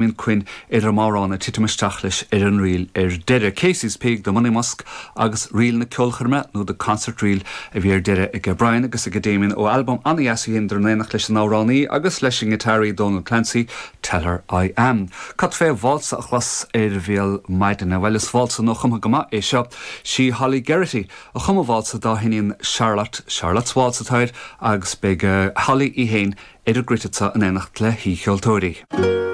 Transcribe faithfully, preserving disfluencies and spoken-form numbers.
Damien Quinn ar an amhrán ag titim isteach leis ar an ríl ar deireadh. Casey's Pig the Monymusk agus ríl na ceolchoirme nó the concert reel a bhí ar deireadh ag Brian agus ag Damien ó albam an-deas in éineacht leis an amhránaí agus leis an ngiotáraí Donal Clancy, Tell her I am. Cad fé válsa a chlos ar bhéal maidine well is válsa nuachumtha go maith é seo sí Holly Geraghty a chum an válsa dá hiníon Charlotte Charlotte's Waltz atá air agus beidh uh, Holly í féin ar an gcruit in éineacht le haoicheoltóirí.